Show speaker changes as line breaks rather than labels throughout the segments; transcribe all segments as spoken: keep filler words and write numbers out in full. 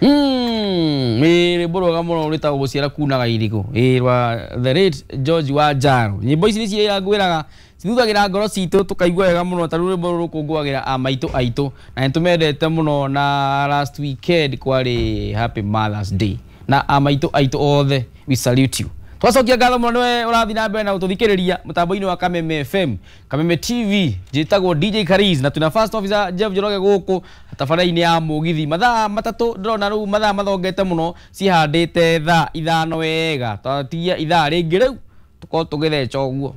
Mm, ĩ rwĩmbo rwega mũno rwĩtagwo gũciara kunaga irigũ, ĩ rwa the late George Wanjaro. Nyĩmbo ici nĩcio ngwĩraga cithuthagĩra ngoro citũ tũkaigua wega mũno. Ta rĩu rwĩmbo rũrũ rũkũngũagĩra a maitũ aitũ na nĩtũmendete mũno, na last weekend kwarĩ Happy Mother's Day na a maitũ aitũ othe, we salute you. Twacokia ngatho mũno nĩwe ũrathiĩ na mbere na gũtũthikĩrĩria mũtambo-inĩ wa Kameme F M, Kameme T V. Njĩtagwo D J Kariz na twĩna first officer Jeff Njoroge gũkũ tabarĩra-inĩ ya mũgithi. Mathaa matatũ ndĩrona rĩu mathaa mathongete mũno, cihandĩte thaa ithano wega, twatigia ithaa rĩngĩ rĩu tũkorwo tũgĩtheca ũguo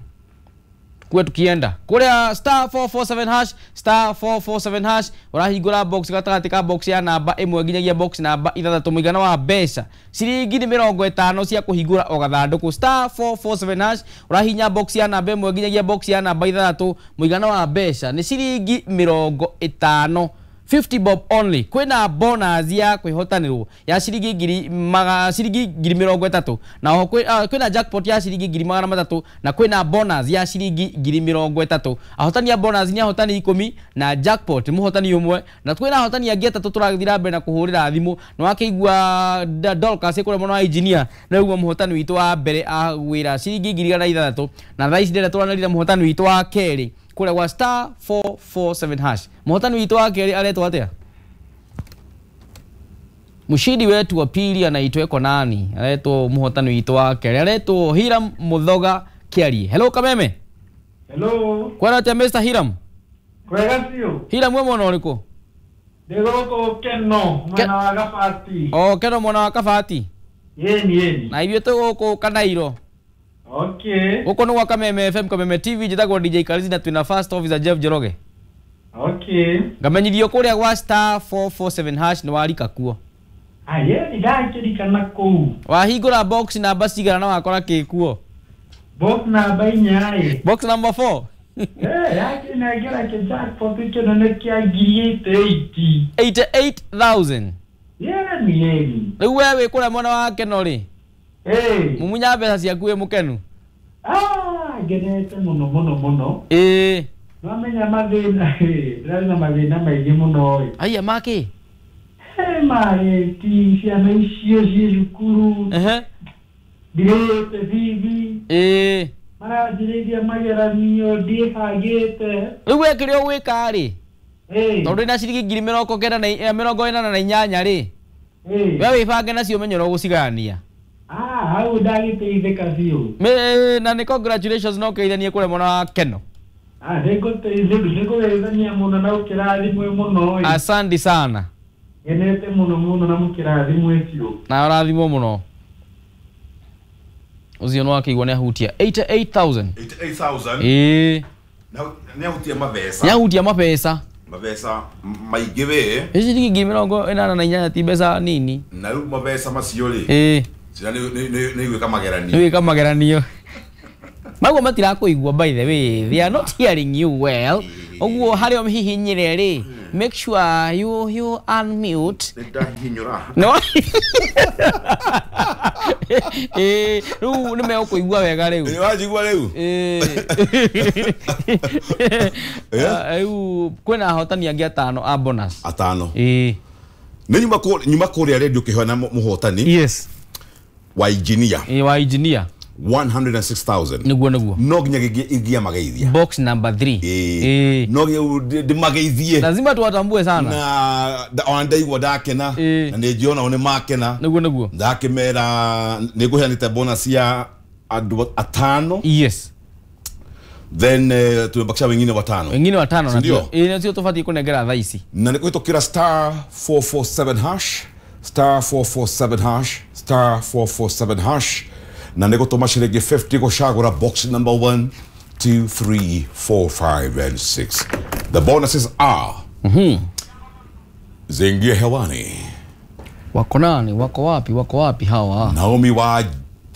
kuwe tukienda kuria star four four seven hash, star four four seven hash. Urahingũra box gatagatĩ ka box ya namba ĩmwe nginyagia box namba ithathatũ. Mũigana wa mbeca ciringi nĩ mĩrongo ĩtano cia kũhingũra o gathandũkũ. Star four four seven hash, ũrahihinya box ya namba ĩmwe nginyagia box ya namba ithathatũ. Mũigana wa mbeca nĩ ciringi mĩrongo ĩtano, fifty bob only. Kwĩna bonus ya kwĩhotanĩrwo ya ciringi ngiri maga ciringi ngiri mĩrongo ĩtatũ, na oho kwĩ- ah, kwĩna jackpot ya ciringi ngiri magana matatũ, na kwĩna bonus ya ciringi ngiri mĩrongo ĩtatũ. Ahotani a bonus nĩ ahotani ikũmi na jackpot nĩ mũhotani ũmwe, na kwĩna ahotani angĩ atatũ tũrathiĩ na mbere na kũhũrĩra thimũ. Nĩ wakĩigua Da- Dorcas kũrĩa mwena wa engineer nĩguo mũhotani witũ wa mbere agwĩra ciringi ngiri igana ithathatũ, na thaa ici ndĩrenda tũranĩria mũhotani witũ wa kerĩ kũrĩa gwa star four four seven hash. Mũhotani witũ wa kerĩ aretwo atĩa? Mshindi wetu wa pili anaitwa eko nani? Aretwo mũhotani witũ wa kerĩ aretwo Hiram Muthoga Kiarie. Hello, Kameme.
Hello.
Kwara atĩa, Mister Hiram?
Kwega biũ.
Hiram, we mwena ũrĩkũ?
Ndĩ gũkũ Keno, mwena wa Gabati.
O Keno, mwena wa Kabati?
Yeni yeni.
Na ithuĩ twĩ gũkũ Kanairo.
Okay.
Gũkũ nĩ gwa Kameme F M, Kameme T V. Njĩtagwo D J Karizi na twĩna first officer Jeff Njoroge.
Okay.
Ngamenyithio kũrĩa gwa star four four seven hash nĩ warika kuo.
Ah, yeni ndakĩrikana kũu.
Wahingũra box namba cigana na wakora kĩ kuo?
Box namba inya ĩ.
Box number four.
Eh, yakĩnengera kĩ jackpot kĩnene kĩa ngiri eighty-eight.
eighty-eight thousand.
Yeni yeni.
Rĩu we wĩ kũrĩa mwena wa Keno rĩ,
Eh.
mumunya mbeca ciaku wĩ mũkenu?
Ah, ngenete mũno mũno mũno.
Ĩĩ.
Nwamenya mathĩna, ĩ, ndĩrarĩ na mathĩna maingĩ mũno ĩ.
Aya makĩ?
He marĩti ciana icio ciĩ cukuru.
Ehe.
Ndirĩte bithi.
Ĩĩ.
Maranjĩrĩria mageranio ndiĩbangĩte.
Rĩu we kĩrĩa ũgwĩka rĩ,
Ĩĩ.
tondũ wĩna ciringi ngiri mĩrongo kenda na eh, mĩrongo ĩnana na inyanya rĩ,
Ĩĩ.
we wĩbange nacio ũmenye ũrĩa ũgũcigayania.
Ah, hau ndagĩteithĩka biũ.
Mĩ- na nĩ congratulations no kĩithanie kũrĩa mwena wa Keno.
Ah, nĩngũteithania mũno na ũkĩrathimwe mũno ĩ.
Asante sana.
Ngenete mũno mũno na mũkĩrathimwe biũ.
Na ũrathimwo mũno. Ũcio nĩ wakĩigua nĩ ahutia eighty-eight thousand.
eighty-eight thousand.
Ĩĩ.
Nĩ ahutia mabeca.
Nĩ ahutia mabeca.
Mabeca maingĩ we.
Ĩ ciringi ngiri mĩrongo ĩnana na inyanya ti mbeca nini.
Na rĩu mabeca macio rĩ,
ĩĩ
ciana nĩ nĩ- nĩ igwĩka mageranio.
Nĩ gwĩka mageranio maguo matirakũigua. By the way, they are not hearing you well. Ũguo harĩa ũhihinyire rĩ, make sure you you unmute.
Nĩ ndahihinyũra.
No ĩĩ, rĩu nĩ megũkũigua wega rĩu.
Ĩ, wanjigua rĩu?
Ĩĩ. Ah, rĩu kwĩna ahotani angĩ atano a bonus.
Atano.
Ĩĩ.
Nĩ nyuma kũ- nyuma kũrĩa redio kĩhoya mũhotani
Yes.
wa engineer.
Ĩĩ, wa engineer.
one hundred and six thousand.
Nĩguo nĩguo.
No nginya ingia mageithia.
Box number three.
Ĩĩ.
Ĩĩ.
No nginya ndĩmageithie.
Lazima tuwatambue sana.
Na nda- ona ndaigua ndakena.
Ĩĩ.
Na nĩ njĩona o nĩ makena.
Nĩguo nĩguo.
Ndakĩmera nĩ ngũheanĩte bonus ya andũ atano.
Yes.
Then uh, tumebakisha wengine watano.
Wengine watano.
Si ndio?
Ĩĩ, nacio tũbatiĩ kũnengera thaa ici.
Na nĩ kũhĩtũkĩra star four four seven hash, star four four seven hash, star four four seven hash, na nĩ gũtũma ciringi fifty gũcagũra box number one, two, three, four, five and six. The bonuses are zingie hewani.
Wako nani? Wako wapi? Wako wapi hawa?
Naomi wa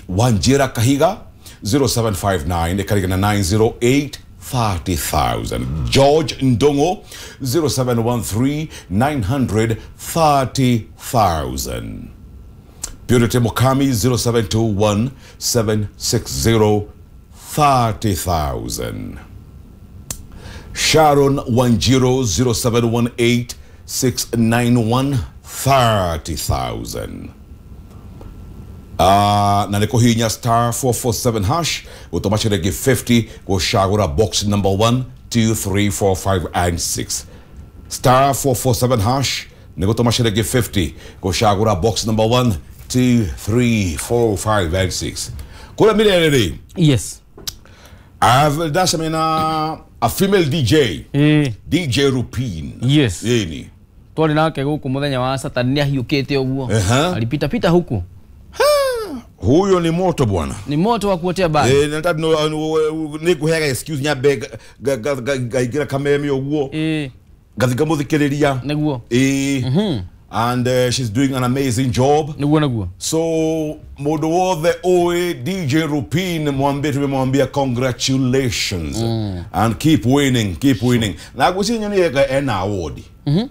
Wanjira Kahiga, zero seven five nine ĩkarigana nine zero eight, thirty thousand. George Ndongo, zero seven one three nine hundred, thirty thousand. Purity Mukami, zero seven two one seven six zero, thirty thousand. Sharon Wanjiro, zero seven one eight six nine one, thirty thousand. Uh, na nä kå hinya star four four seven hash gå tå ma ciringi fifty gå cagå box number one two three four five and six. Star four four seven hash nä gå tå ma ciringi fifty gå cagå box number one two three four five and six. Kå rä a mä rere rä
Yes.
ndacemania na a female D J.
Eh.
D J Rupin.
Yes.
Ĩni.
Twarĩ nake gũkũ mũthenya wa Saturday nĩ ahiũkĩte ũguo.
Uh-huh.
Alipita pita huku.
Huyo ni moto bwana.
Ni moto wa kuotea bali.
Eh, nataka no ni kuhega excuse nyambe ngaingira kameme uguo.
Eh.
Ngathika muthikiriria.
Niguo.
Eh.
Mhm.
And uh, she's doing an amazing job.
Niguo niguo.
So mundu wothe oe D J Rupin mwambie tumemwambia congratulations.
Mm.
And keep winning, keep winning. Na gusinya ni ena award.
Mhm.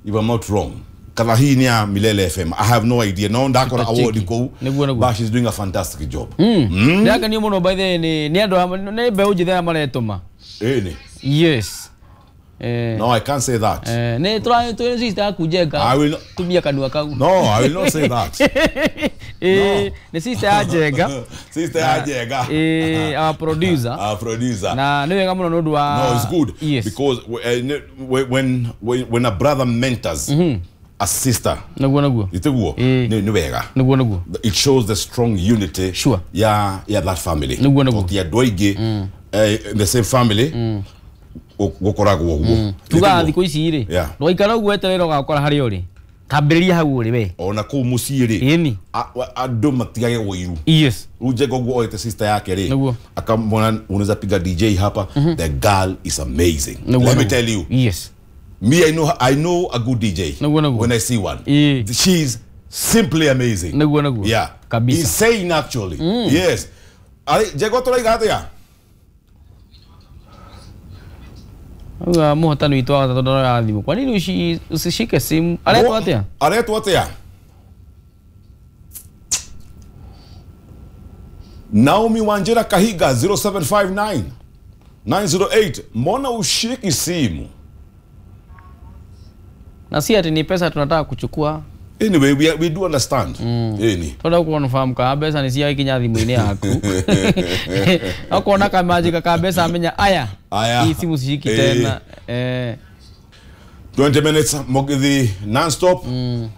If I'm not wrong. Kana hii ni ya Milele F M. I have no idea. No ndakora award kou. But she's doing a fantastic job.
Mm. Mm. Ndaka ni muno by the ni ni andu ni mbeu njithĩ maretuma.
Eh ni.
Yes. Eh.
No, I can't say that.
Eh, ni try to sister kujenga.
I will not
tumia kanua kau.
No, I will not say that.
Eh, ni sister ajenga.
Sister ajenga.
Eh, our producer.
Our producer.
Na ni wega muno nundu wa.
No, it's good.
Yes.
Because when when when a brother mentors
mm -hmm.
a sister.
Niguo niguo.
Iteguo.
Ni
ni wega.
Niguo niguo.
It shows the strong unity.
Sure.
Ya ya that family.
Niguo niguo.
Ti andu aingi in the same family.
Mm.
Gukoragwo uguo.
Tuga thikũ ici rĩ. Ndũgaikara ũguo weterere ũgakora harĩa ũrĩ. Tambĩrĩria hau ũrĩ we.
Ona kũu mũciĩ rĩ.
Ĩni.
Andũ matigage ũiru.
Yes.
Rĩu Njenga ũguo oete sister yake rĩ.
Niguo.
Akamwona unaweza piga D J hapa. The girl is amazing.
Niguo.
Let me tell you.
Yes.
Me, I know, I know a good D J.
Niguo niguo.
When I see one.
E.
She's simply amazing.
Niguo niguo.
Yeah.
Kabisa.
Insane actually.
Mm.
Yes. Ari Njenga tũraiga atĩa?
Uga muhotani witũ wa gatatũ ndoraga thimũ. Kwa nini ushi usishike simu? Aretwo atĩa?
Aretwo atĩa? Naomi Wanjira Kahiga zero seven five nine nine zero eight. Mbona ushiki simu?
Na si ati ni pesa tunataka kuchukua.
Anyway, we, we do understand.
Mm.
Any.
Tondu ukonfahamu ka mbeca ni cia ikinya thimũ-inĩ yaku. Okona kamajika ka mbeca amenya aya.
Aya.
Hii simu sishiki tena. Eh.
twenty minutes Mugithi non-stop.
Mm.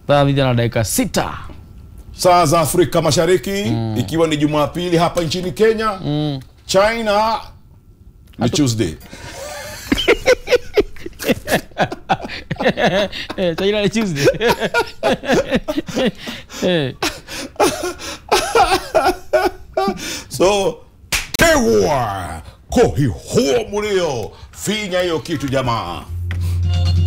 Saa mbili na dakika sita.
Saa za Afrika Mashariki,
mm.
ikiwa ni Jumapili hapa nchini Kenya.
Mm.
China ni Tuesday.
Eh, China ni Tuesday. Eh.
So, tewa kohi huo mulio finya hiyo kitu jamaa.